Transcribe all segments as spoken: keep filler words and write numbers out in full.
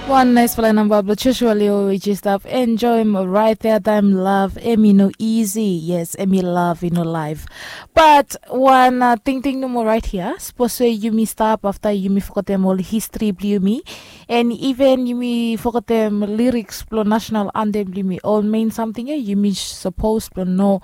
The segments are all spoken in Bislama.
Wan naispela namba blong Joshua Leo we i jes stap enjoim raet ya taem. Lav em i no isi. Yes, em i lav i no laef. Bat wan tingting nomo raet hia, sapos we yumi stap afta yumi fogetem ol histri blong yumi, en iven yumi fogetem liriks blong nasenal antem blong yumi, ol mein samting ya yumi sapos blong no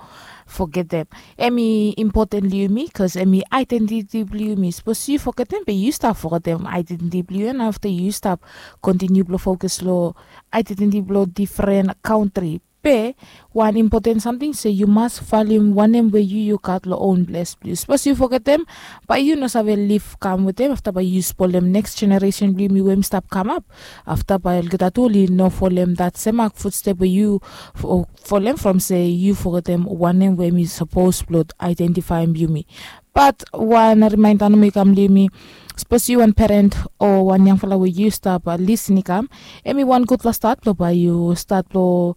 fogetem. Em i impoten long yumi bikos em i aedentiti blong yumi. Sapos yu fogetem be yu stap fogetem aedentiti blong yu, en afta yu stap kontiniu blong fokus long aedentiti blong difren kantri. Be wan impoten samting se yu mas valuem wanem we yu yu gat long own ples blong yu. Sapos yu fogetem, bae yu no save lif kam wetem, afta bae yu spolem neks jeneresen blong yumi we hem i stap kamap. Afta bae olgeta tu oli no folem dat semak futstep we yu folem from se yu fogetem wanem we hem i sapos blong aedentifaem yumi. Bat wan rimaenda nomo i kam long yumi. Sapos yu wan peren o wan yangfala we yu stap lisin i kam, hem i wan gudfala stat blong bae yu stat blong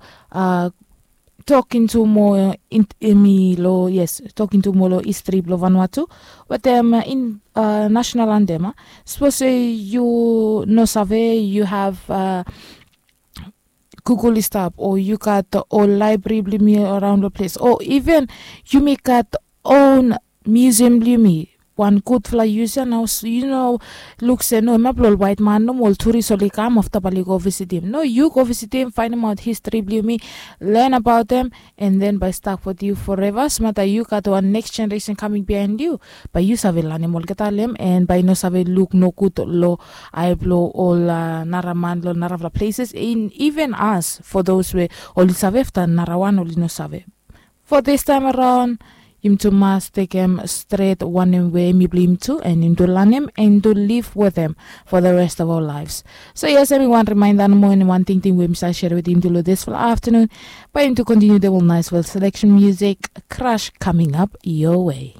tokin tu moa, em i long, yes, tokin tu moa long histri blong Vanuatu wetem nasenal antem. Sapos se yu no save, yu have Google i stap, o yu gat ol laebri blong yumi araon long ples, o iven yumi gat own miusiam blong yumi. Wan gudfala yus ya nao, yu no luk se no, hem ya blong ol waet man nomo, ol turis oli kam afta bae oli go visitim. No, yu go visitim, faenemaot histri blong yumi, len abaot hem, en den bae i stak wetem yu foreva. Smata yu gat wan neks jeneresen kaming biaen yu, bae yu save lanem olgeta long hem, en bae i no save luk nogud long ae blong ol nara man long narafala pleses, en iven as fo dos we oli save afta narawan oli no save. Fo distaem araon, yumi tu mas tekem stret wanem we hem i blong yumi tu, en yumi tu lanem, en tu liv wetem fo the rest of our lives. So yes, hem i wan rimaenda nomo, en wan tingting we mi save sere wetem yumi tu long disfala aftanun. Bae yumi tu kontiniu wetem ol naesfala seleksen musik. Crush coming up your way.